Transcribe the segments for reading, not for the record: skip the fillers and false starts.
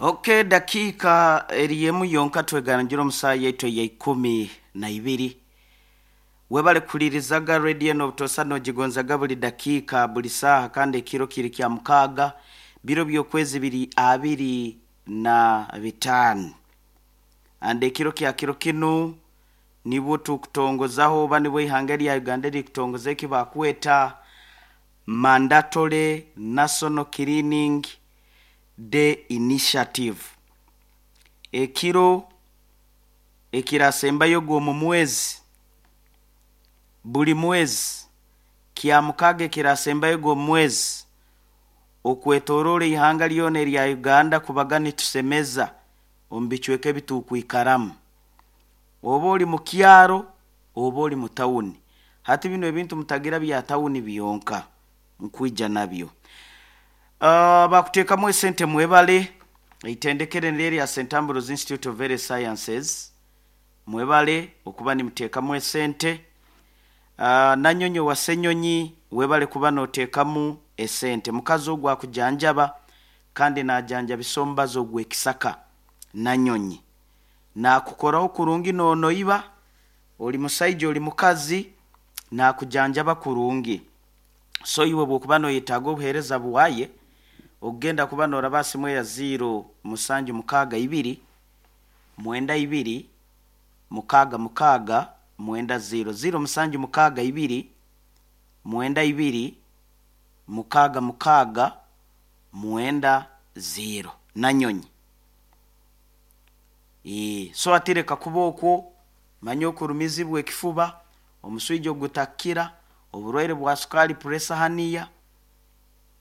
Ok, dakiika eri emu yonka twegangira omu saaha yaitu eya 12. Webale kuhulirizaga rediyo enu obutosa nogigonzaga buli dakiika, buli saaha, kandi ekiro kiri kya mukaaga, biro by'okwezi biri 25. And ekiro kya kiro kinu nibwo tukutongozaho oba nibwo ihanga erya Uganda erikutongoza eki bakweta Mandatory National Cleaning Day Initiative. Ekiro ekirasembayo ogw'omu mwezi, buli mwezi, kya mukaaga ekirasembayo ogw'omu mwezi, okwetoroora ihanga lyona erya Uganda kubaga nitusemeza omu bicweka ebi tukwikaramu. Oba ori mu kyaro, oba ori mu tawuni. Hati binu ebintu mutagira bya tawuni byonka, nkwija nabyo. Bakuteekamu esente mwebale, eitendekero niryo erya St Ambrose Institute of Health Sciences, mwebale okuba nimuteekamu esente. Nanyonyi owa Ssenyonyi, webale kuba nooteekamu esente. Mukazi ogu akujanjaba kandi naajanjabisa omubazi ogw'ekisaka Nanyonyi. Naakukoraho kurungi noonoiba, ori musaija ori mukazi, naakujanjaba kurungi. So iwe bw'okuba nooyetaaga obuheereza bwaye, okugenda kuba nooraba ha simu eya ziiro musanju mukaaga ibiri, mwenda ibiri, mukaaga mukaaga, mwenda ziiro. Ziiro musanju mukaaga ibiri, mwenda ibiri, mukaaga mukaaga, mwenda ziiro. Nanyonyi. Eeh, so hati leka kuba okwo, manya okurumizibwa ekifuba, omuswija ogutakukira, oburwaire bwa sukaali, pressure, haniya,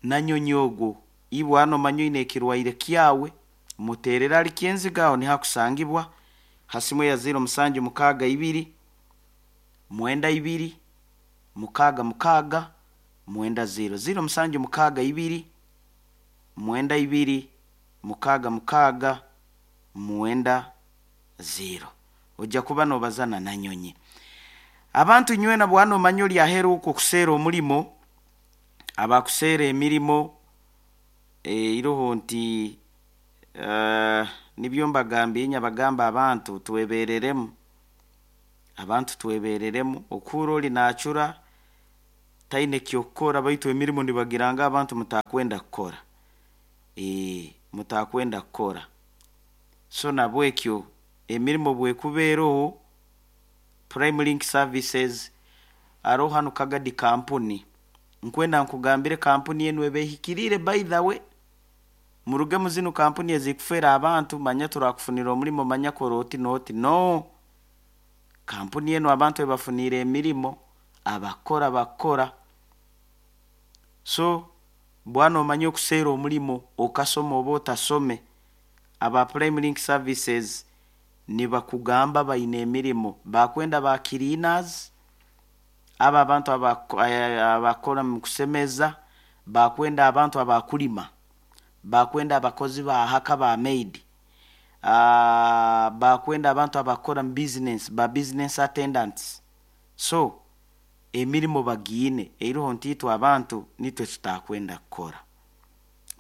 Nanyonyi ogwo. Iwe hanu omanya oine ekirwaire kyawe, muteerere ahari Kyenziga aho niho akusangibwa, ha simu eya ziiro musanju mukaaga ibiri, mwenda ibiri, mukaaga mukaaga, mwenda ziiro. Ziiro musanju mukaaga ibiri, mwenda ibiri, mukaaga mukaaga, mwenda ziiro. Oja kuba noobaza na Nanyonyi. Abantu nywena bwana omanya ori aheeru okwo kuseera omurimo, abakuseera emirimo eiroho nti nibyo mbagambiire nyabagamba abantu twebereremu, abantu twebereremu. Okuhurra ori naacura taine ky'okukora baitu emirimo nibagira ngu abantu mutakwenda kukora, mutakwenda kukora. So nabwekyo emirimo obu ekuba eroho, Prime Link Services haroho hanu Kagadi kampuni, nkwenda nkugambire kampuni enu eba ehikiriire by the way, muruge mu zinu kampuni ezikufeera abantu manya turakufunira omurimo manya kora oti n'oti, no! Kampuni enu abantu ebafuniire emirimo, abakukora bakukora. So bwana omanye okuseera omurimo okasoma oba otasome, aba Prime Link Services nibakugamba baine emirimo, bakwenda ba cleaners, abo abantu abakukora omu kusemeza, bakwenda abantu abakulima, bakwenda abakozi ba haka ba maid, bakwenda abantu abakukora omu business, ba business attendants. So emirimo bagiine, eiroho nti itwe abantu nitwe tutakwenda kukora.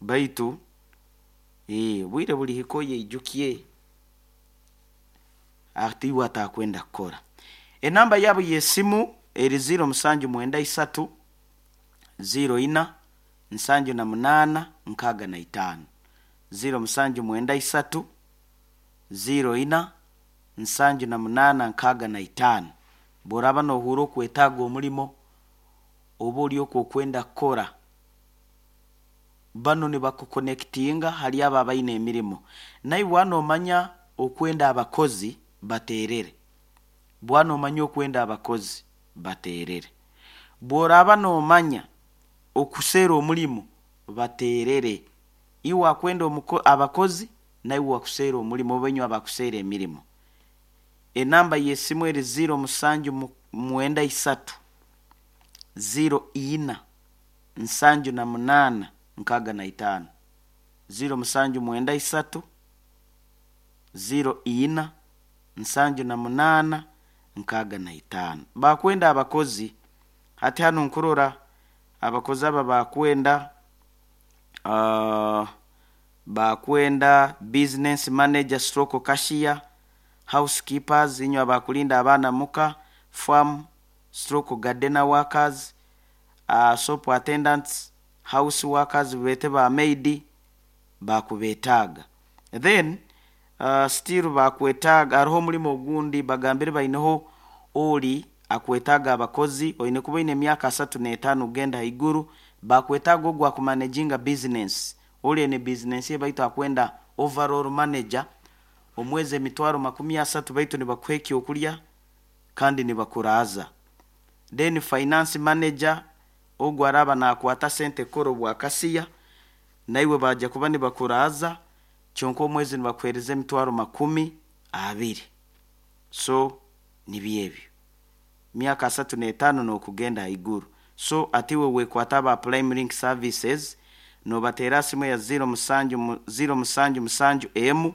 Baitu obwire burihika oyeijukye ati iwe atakwenda kukora. Enamba yaabo y'esimu eri ziiro musanju mwenda isatu, ziiro ina, nsanju na munaana, nkaaga na itaano. Ziiro musanju mwenda isatu, ziiro ina, nsanju na munaana, nkaaga na itaano. Bw'oraaba noohurra okwetaaga omurimo oba ori okwo okwenda kukora, banu nibakukonekitinga hali abo abaine emirimo. Naiwe waaba noomanya okwenda abakozi, bateerere. Bwaba noomanya okwenda abakozi, bateerere. Bw'oraaba noomanya okuseera omurimo, bateerere. Iwe akwenda abakozi, naiwe akuseera omurimo oba inywe abakuseera emirimo. Enamba y'esimu eri ziiro musanju mwenda isatu, ziiro ina, nsanju na munaana, nkaaga na itaano. Ziiro musanju mwenda isatu, ziiro ina, nsanju na munaana, nkaaga na itaano. Baakwenda abakozi, hati hanu nkurora abakozi aba baakwenda. Bakwenda business manager stroke cashier, housekeepers, inywe abakulinda abaana muka, farm stroke gardener workers, shop attendants, house workers beete ba maid, bakubetaaga. Then still bakwetaaga, hariho omulimo ogundi bagambire baineho oli akwetaaga abakozi, oine kuba oine emyaka 35 kugenda haiguru, bakwetaaga ogu akumanaginga business, oli aine business ye baitu akwenda overall manager, omwezi emitwaro 30 baitu nibakuha ekyokulya kandi nibakuraaza. Then finance manager, ogu araaba nakwata sente kukora obwakasiya, naiwe baija kuba nibakuraaza, kyonka omwezi nibakuheereza emitwaro 20. So nibyo ebyo, myaka 35 n'okugenda haiguru. So ati iwe wekwata aba Prime Link Services, nobateera simu ya 07 077 M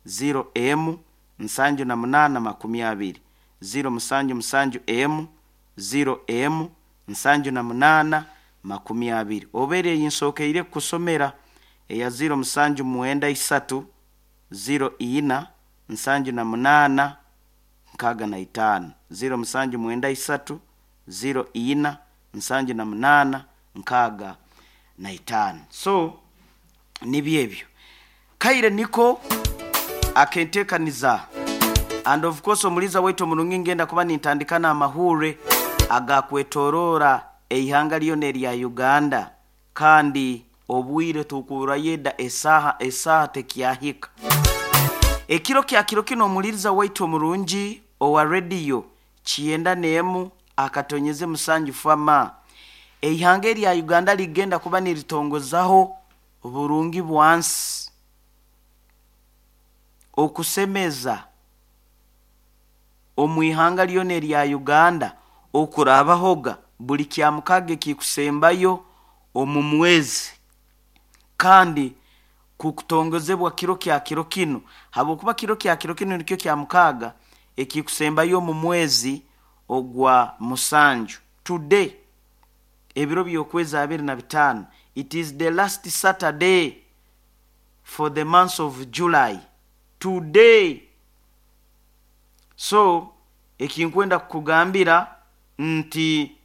0 M 78 20, 077 M 0 M 78 20. Oba eri eyinsokeire kukusomera eya 0793 04 78 65, 0793 04 78 65. So nibyo ebyo, kaire niko akentekaniza. And of course omuliza waitu omurungi, ngenda kuba nintandika n'amahure agakwetorora eihanga lyona erya Uganda, kandi obwire tukurayo eda esaaha tekyahika. Ekiro kya kiro kino omuliriza waitu omurungi owa rediyo 91.7 fama, eihanga erya Uganda ligenda kuba niritongozaho burungi bwansi okusemeza omu ihanga lyona erya Uganda okurabahoga buli kya mukaaga ekikusembayo omu mwezi, kandi kukutongozebwa kiro kya kiro kinu, habwokuba kiro kya kiro kinu nikyo kya mukaaga ekikusembayo omu mwezi ogwa 7. Today ebiro by'okwezi 25, it is the last Saturday for the month of July today. So ekinkwenda kukugambira nti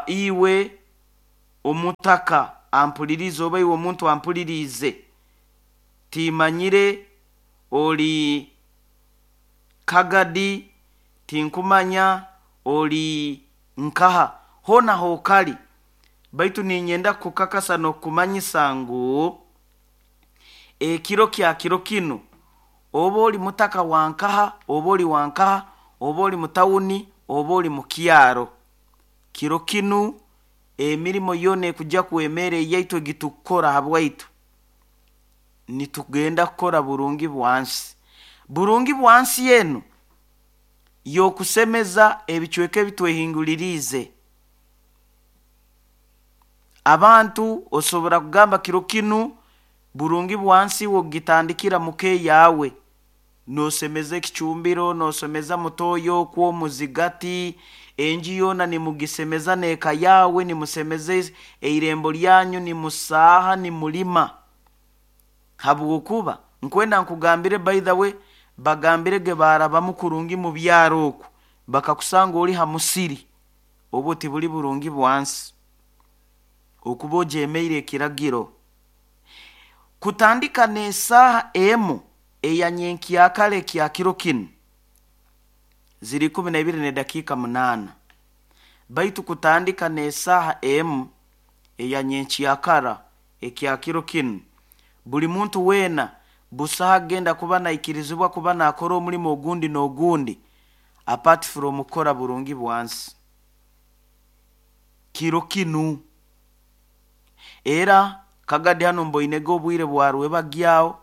iwe omutaka ampulirize oba iwe omuntu ampulirize, timanyire oli Kagadi, tinkumanya oli nkaha, hoona hokali, baitu ninyenda kukakasa n'okukumanyisa ngu ekiro kya kiro kinu oba oli mutaka wankaha, oba oli wankaha, oba oli mutawuni, oba oli mukyaro, kiro kinu emirimo yoona ekujja kwemera eyaitu egitukukora habwaitu, nitugenda kukora burungi bwansi. Burungi bwansi enu y'okusemeza ebicweka ebitwehinguliriize. Abantu osobora kugamba kiro kinu burungi bwansi wokugitandikira muka eyawe, nosemeza ekicumbiro, nosemeza mutoyo okwo omuzigati, enju yoona nimugisemeza n'eka yawe, nimusemeza eirembo lyanyu, nimusaaha, nimulima. Habwokuba nkwenda nkugambire, by the way, bagambire ge barabamu kurungi mu byaro oku, bakakusanga oli ha musiri, obwo tibuli burungi bwansi okuba ojemeire ekiragiro. Kutandika n'esaaha 1 eya nyenkyakare kya kiro kinu ziri 12:08, baitu kutandika n'esaaha 1 eya nyenkyakara ekya kiro kinu, buli muntu weena busaha agenda kuba naikirizibwa kuba nakora omulimo ogundi n'ogundi apart from kukora burungi bwansi kiro kinu. Era Kagadi hano mboinege obwire bwa rwebagyaho,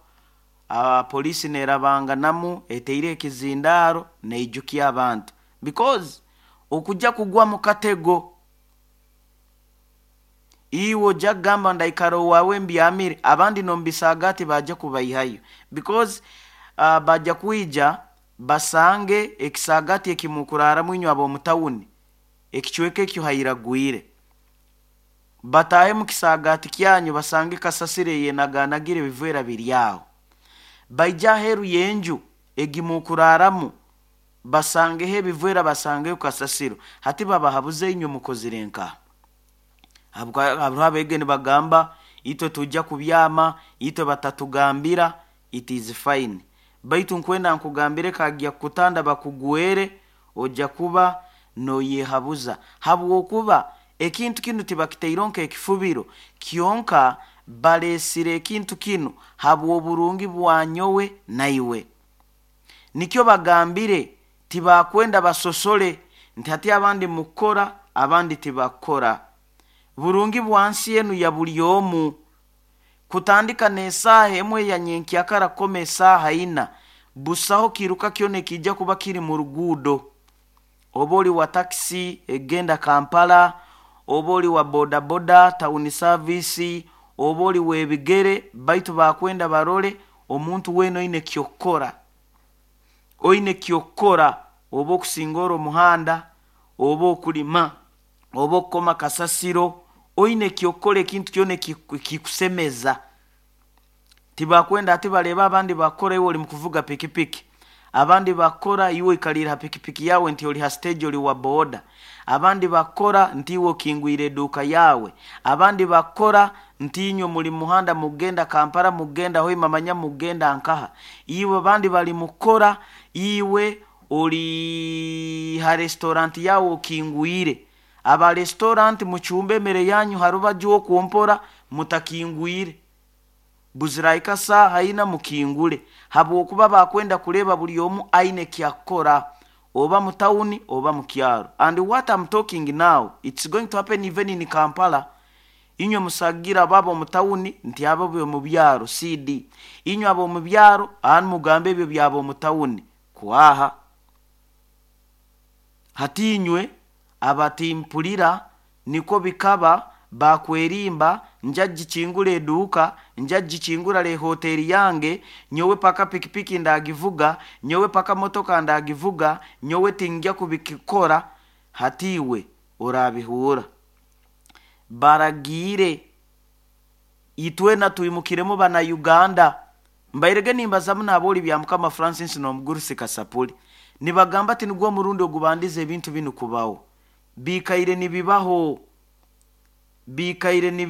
polisi nerabanganamu eteire ekizindaaro neijukya abantu, because okujja kugwa mu katego, iwe ojja kugamba ndaikara owaawe mbyamire, abandi nomubisagati bajja kubaihayo, because bajja kwija basange ekisagati ekimukuraramu inywe ab'omutawuni, ekicweka ekyo hairagwire. Bataahe mu kisaagaati kyanyu, basange kasasiro eyenaganagire, ebivera biri aho. Baija aheeru y'enju egimukuraramu, basangeho ebivera, basangeho kasasiro. Hati babahabuze, inywe mukozire nkaha? Hariho abeege nibagamba, itwe tujja kubyama, itwe batatugambira. It is fine, baitu nkwenda nkugambire, kagya kukutanda bakugwere, ojja kuba noyehabuza, habwokuba ekintu kinu tibakitaireho nk'ekifubiro kyonka. Baleesire ekintu kinu habw'oburungi bwa nyowe naiwe. Nikyo bagambire, tibakwenda basosole nti hati abandi mukukora, abandi tibakukora. Burungi bwansi enu ya buli omu. Kutandika n'esaaha 1 ya nyenkyakara kukoma esaaha 4, busaho kiruka kyona ekijja kuba kiri mu ruguudo. Oba oli wa takisi egenda Kampala, oba oli wa bodaboda, town service, oba oli w'ebigere, baitu bakwenda barole omuntu weena oine kyokukora, oine kyokukora, oba okusingora omuhanda, oba okulima, oba okukoma kasasiro, oine kyokukora, ekintu kyona ekikusemeza. Tibakwenda ati bareba abandi bakora, iwe oli mukuvuga pikipiki, abandi bakora, iwe oikalire ha pikipiki yawe, nti oli ha stage, oli wa boda, abandi bakora, nti iwe okingwire eduuka yawe, abandi bakora, nti inywe muli muhanda mugenda Kampala, mugenda Hoima, manya mugenda nkaha, iwe abandi bali mukora, iwe ori ha restaurant yawe okingwire. Aba restaurant, mucumbe emere yanyu harubaju okwompora, mutakingwire. Buziraika saaha 4 mukingule, habwokuba bakwenda kureba buli omu aine kyakukora, oba mu tawuni oba mu kyaro. And what I'm talking now, it's going to happen even in Kampala. Inywe musagira abo omu tawuni nti abo mu byaro cd, inywe abo mu byaro anu mugambe ebyo byabo omu tawuni kwaha. Hati inywe abatimpulira, niko bikaba bakwerimba, nja gikingura eduuka, nja gikingura le hoteri yange, nyowe paka pikipiki ndagivuga, nyowe paka motoka ndagivuga, nyowe tingya kubikikora. Hati iwe orabihura, baragiire itwena twimukiremu. Bana Uganda, mbairege nimbazamu nabooli bya Mukama Francis n'omugurusi Kasapuli, nibagamba ati nigwo omurundi ogubandiza ebintu binu kubaho. Biikaire nibibaho, biikaire nibi.